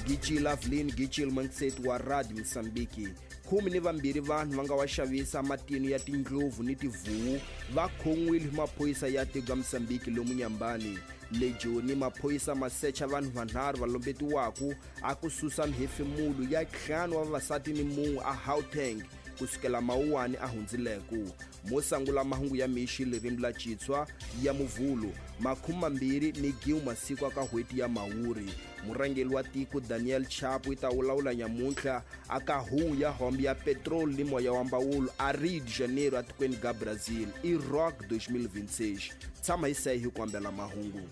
Gichila Avelino Gichil Mantseti wa Radio Mosambiki. 12 vanhu va nga wa xavisa matino ya tindlopfu ni tivuwu va khon'wile hi maphorisa ya tiko ya Mosambiki lomu Nyambani. Le Joni maphorisa ma secha vanhu vanharhu va lombetiwaku a ku susa mihefemulo ya 5 wa vavasati ni mun'we a Gauteng kusukela Mawuwani a hundzileku. Mo sangula mahungu ya mixi ririmi la Xitswa ya Muvhulu 21 masiku aka n'hweti ya Mhawuri. Murhangeri wa tiko Daniel Chapo yi ta vulavula nyamuntlha aka huwu ya hombe ya petrol ni moya wa mbawulo a Rio de Janeiro atikweni ga Brazil i Rock 2026. Tshama hi seyi hi ku mahungu.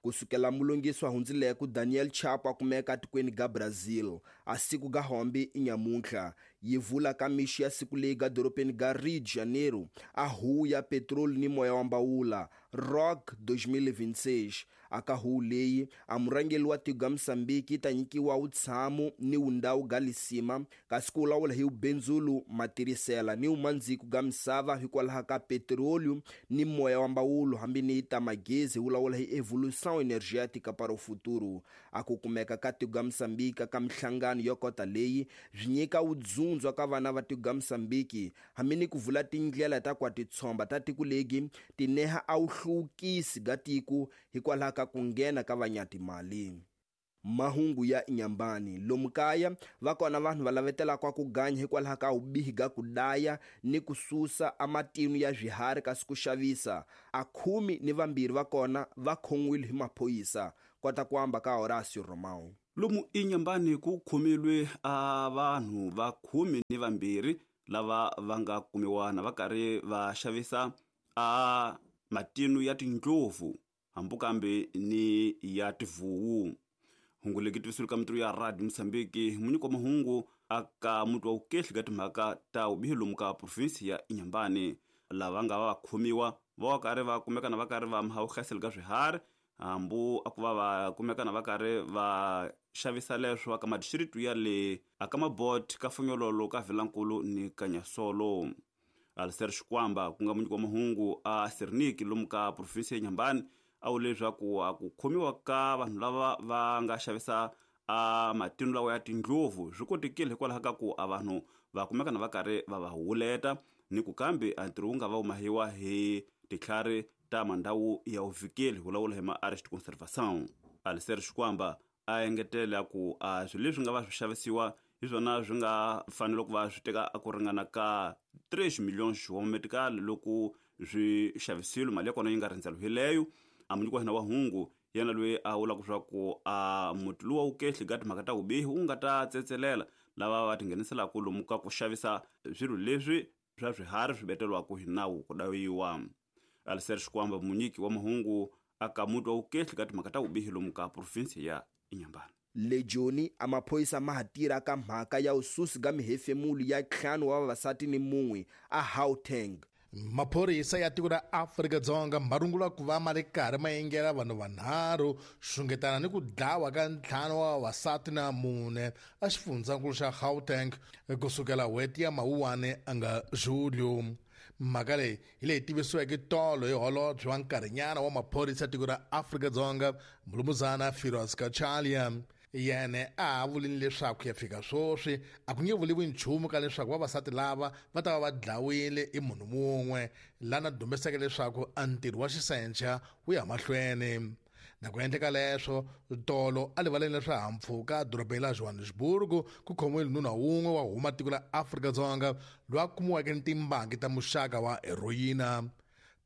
Kusukela mulungiswa hundzileku Daniel Chapo a kumeka atikweni ga Brazil a siku ga hombe i nyamuntlha yi vula ka mixi ya siku leyi ga dorobeni ga Rio de Janeiro a huwu ya petrol ni moya wa mbawula Rock 2026. Aka huwu leyi a murhangeri wa tiko ga Mosambiki yi ta nyikiwa wutshamo ni wundawu ga lisima kasi ku vulavula hi wubenzulu matirisela ni wumandziku ga misava hikwalaho ka petrolium ni moya wa mbawulo hambi ni ta magezi hi vulavula hi evolução energética para o futuro. A ku kumeka ka tiko ga Mosambiki ka mihlangano yo kota leyi swi nyika wudzundzwa ka vana va tiko ga Mosambiki hambi ni ku vula tindlela ta kwa titshomba ta tiko legi ti neha a wuhluvukisi ga tiko hikwalaho ka ku nghena ka vanyatimali. Mahungu ya Nyambani lomu kaya va kona vanhu va lavetelaka ku ganya hikwalaho ka vubihi ga ku daya ni ku susa amatinu ya swiharhi kasi ku xavisa. A 12 va kona va khon'wile hi maphorisa. Kota ku amba ka Horacio Romão. Lomu iNyambani ku khomilwe a vanhu va 12 lava va nga kumiwa na va karhi va xavisa a matinu ya tindlopfu hambi kambe ni ya tivuwu. Hungu legi tivisiwile ka mintirho ya Radio Mosambiki munyiki wa mahungu aka muti wa vukehli ka timhaka ta vubihi lomu ka provinsi ya Inyambani. Lava nga va khomiwa va karhi va kumeka na va karhi va mahawuhlaselo ka swiharhi hambi a ku va va kumeka na va karhi va xavisa leswo aka madistritu ya le aka Mabot ka Funyololo ka Vilankulu ni Kanyasolo. Alistair Xikwamba ku nga munyiki wa mahungu a Serniki lomu ka provinsi ya Nyambani a vule leswaku a ku khomiwa ka vanhu lava va nga xavisa a matinu lawa ya tindlopfu swi kotekile hikwalaho ka ku a vanhu va kumeka na va karhi va va huleta ni ku kambe a ntirho wu nga va wu mahiwa hi titlhari ta mandhawu ya vuvikeli vulavula hi ma-arrest conservation. Alistair Xikwamba a engetela ku a swilo leswi nga va swi xavisiwa hi swona swi nga fanele ku va swi teka a ku ringana ka 3 millions wa medical loko swi xavisiwile mali ya kona yi nga rindzeliwileyo. A munyiki wa hina wa hungu yena loyi a vulaka swa ku a muti luwa wu kehli ka timhaka ta vubihi wu nga ta tsetselela lava va tingheniselaka lomu ka ku xavisa swilo leswi swa swiharhi swi beteriwaka hi nawu ku dayiwa. Alistair Xikwamba munyiki wa mahungu aka muti wa vukehli ka timhaka ta vubihi lomu ka provinsi ya Inyambani. Le Joni a maphorisa ma ha tirha ka mhaka ya vususi ga mihefemulo ya 5 wa vavasati ni mun'we a Gauteng. Maphorisa ya tiko ra Afrika-Dzonga ma rungula ku va ma ri karhi ma yingela vanhu vanharhu xungetana ni ku dlawa ka 5 wa vavasati na 4 a xifundzankulu xa Gauteng kusukela n'hweti ya Mawuwani a nga Julio. Mhaka leyi hi leyi tivisiweke tolo hi holobye wa nkarhinyana wa maphorisa ya tiko ra Afrika-Dzonga Mulumuzana Firoz Cachalia. Yena a vulile leswaku ya fika sweswi a ku nge vuriwi nchumu ka leswaku vavasati lava va ta va va dlawile hi munhu mun'we lana dumbeseke leswaku a ntirho wa xisencha wu ya mahlweni. Na ku endleka leswo tolo a rivaleni la swihahampfhuka dorobeni la Johannesburg ku khomiwile nuna wun'we wa huma tiko la Afrika-Dzonga loyi a kumiweke ni timbangi ta muxaka wa heroyina.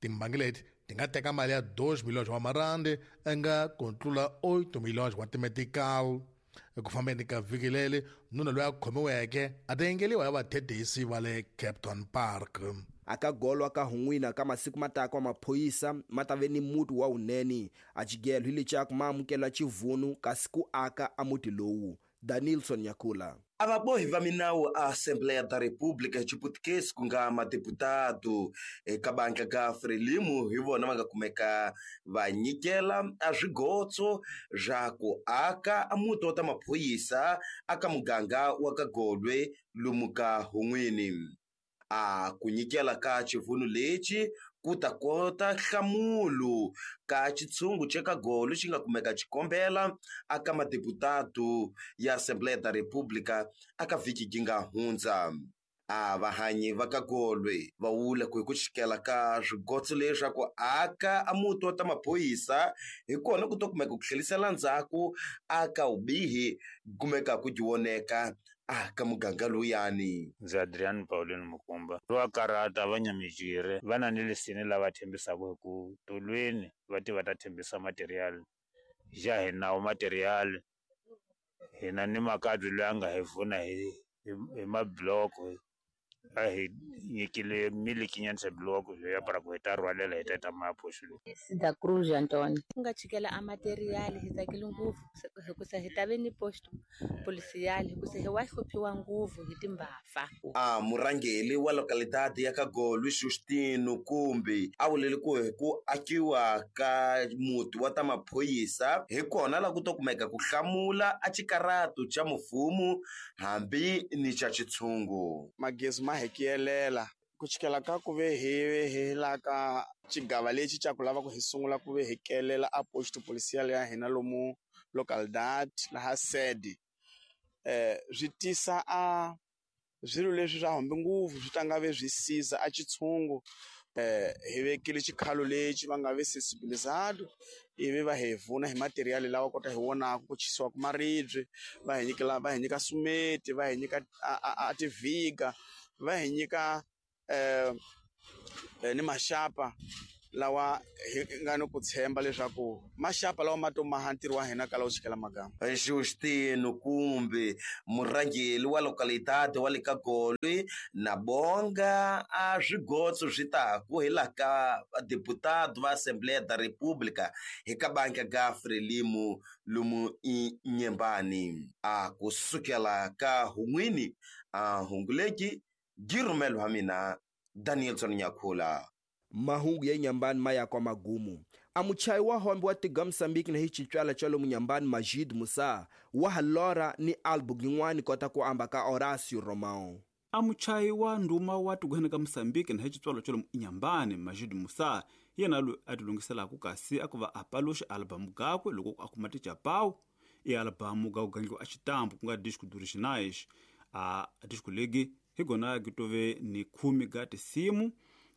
Timbangi leti ti nga teka mali ya 2 milhões wa marandi nga ku tlula 8 milhões wa timetical. Eku fambeni ka vhiki leri nuna loyi a khomiweke a ta yingeliwa hi vathethisi va le Kempton Park. Aka golwa ka hun'wina ka masiku mataka wa maphorisa ma ta ve ni muti wa wunene a xigelo hi lecaku ma amukela xivunu kasi ku aka a muti lowu. Danilson Nyakula. A vabohi va minawu a Assembleia da República hi Xiputukezi ku nga madeputado eka bandla ka Frelimo hi vona va nga kumeka va nyikela a swigotso swa ku aka a muti wa ta maphorisa aka muganga wa ka Golwe lomu ka Hun'wini. A ku nyikela ka xivunu lexi ku ta kota nhlamulo ka xitshungu xa ka Golo xi nga kumeka xikombela aka madeputado ya Assembleia da República aka vhiki yi nga hundza. A vahanyi va ka Golwe va vula ku hi ku xikela ka swigotso leswaku aka a muti wa ta maphorisa hi kona ku to kumeka ku tlhelisela ndzhaku aka vubihi kumeka ku dyoneka aka muganga luyani. Ndzi Adrian Pauline Mukumba va karata va nyamijire va na ni lisini lava tshembisaka hi ku tolweni va ti va ta tshembisa material ja hi nawu material hina ni makadzi loyi a nga hi pfuna hi mabloko a hi nyikile milikinyana bloko ya para ku hi ta rhwalela hi ta ta mapoxo. Da Cruz Antônio ku nga chikela a material hi tsakile ngopfu hikusa hi ta ve ni posto policial hikusa hi wa hluphiwa ngopfu hi timbhafa. A murhangeri wa localidade ya ka Golo Justino Kumbi a vulele ku hi ku akiwa ka muti wa ta maphorisa hi kona la ku to kumeka ku hlamula a xikarato xa mfumo hambi ni xa xitshungu. Magezi ma hi kiyelela ku chikela ka ku ve hi la ka xigava lexi xa ku lava ku hi sungula ku ve hi kelela a posto policial ya hina lomu localidade laha sede swi tisa a swilo leswi swa hombe ngopfu swi ta nga ve swi siza a xitshungu hi vekile xikhalo lexi va nga ve sensibilizado ivi va hi vuna hi material lawa kota hi vonaka ku chisiwa ku maribye va hi nyika va hi nyika sumeti va hi nyika a tiviga va hi nyika ni maxapa lawa hi nga ni ku tshemba leswaku maxapa lawa ma to maha ntirho wa hina kala wu chikela magama. Justino Kumbi murhangeri wa localidade wa le ka Golwe na bonga a swigotso swi taku hi la ka deputado va Assembleia da República hi ka banka ga Frelimo lomu Inhambane a kusukela ka hun'wini a hunguleki girumelo wa mina Danielson Nyakhula. Mahungu ya Inhambane maya kwa magumu. A muchayi wa hombe wa tiga Mozambique na hi xitswala xa lomu Inhambane Majid Musa wa halora ni album yin'wana kota ku amba ka Horácio Romão. A muchayi wa ndhuma wa tikweni ka Mozambique na hi xitswalo xa lomu Inhambane Majid Musa yena loyi a tilunghiselaka kasi a ku va a paluxa album gakwe loko a kuma tijapawu i album ga ku gandliwa a xitambu ku nga disco originais a disco legi hi gona gitove ni 10 ga tisimu.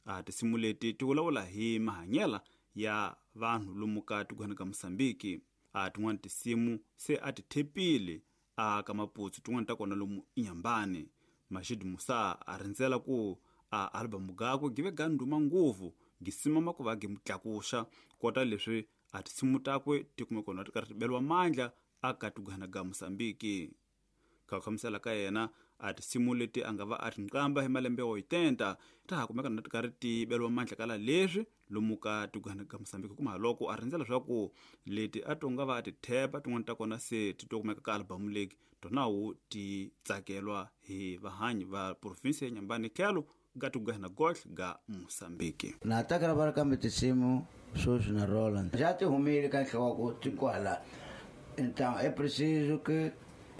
A tisimu leti ti vulavula hi mahanyela ya vanhu lomu ka tikweni ka Mozambique. A tin'wana tisimu se a ti thepile a ka Maputsu tin'wana ta kona lomu Inhambane. Majid Musa a rindzela ku a album gakwe give ga ndhuma ngopfu gisimama ku va gi mutlakuxa kota leswi a tisimu takwe ti kume kona ti karhi ti beliwa mandla a ka tikweni ka Mozambique. Ka khamisela ka yena a tisimu leti a nga va a tinqamba hi malembe yo 80 ta ha kumeka na ti karhi ti beliwa mandla kala leswi lomu ka tikweni ka Mozambique kuma loko a rindzela leswaku leti a to nga va a ti thepa tin'wana ta kona se ti to kumeka ka album leki tonawu ti tsakelwa hi vahanyi va province ya Inhambane tlhelo ga tikweni gohle ga Mozambique. Na takala va kambe tisimu sweswi na Roland ja ti humile ka nhloko ti kwala. Então é preciso que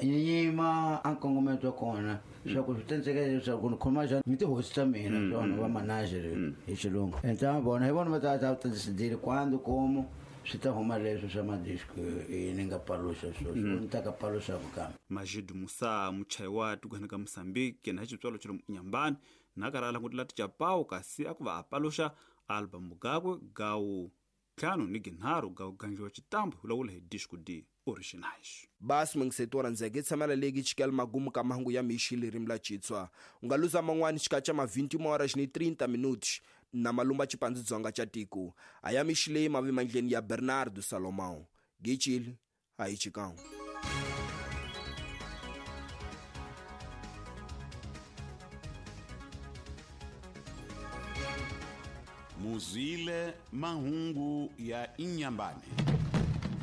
nyima a nkongometo wa kona swa ku swi tenseka leswaku ni khoma njhani ni tihosi ta mina swona va manager hi xilungu. Então vona hi vona va ta ta decidile quando como swi ta huma leswi swa madisco ni nga paluxa sweswi ni ta ka paluxa kambe. Majid Musa muchayi wa tikweni ka Mozambique na xitswalo xa lomu Inhambane na karhi a langutela tijapawu kasi a ku va a paluxa album gakwe gawu 5 ni 3 ga ku gandliwa xitambu vulavula hi disco d originais. Basi mungisetora ndzeke tshamela leki chikela magumu ka mahungu ya mixi ririmi la Xitswa. U nga luza man'wani xikacha ma 21 horas ni 30 minutos na malumba xipandzu dzonga xa tiko. A ya mixi leyi mavi mandleni ya Bernardo Salomão. Gicile a hi chikang. Muzwile mahungu ya Inhambane.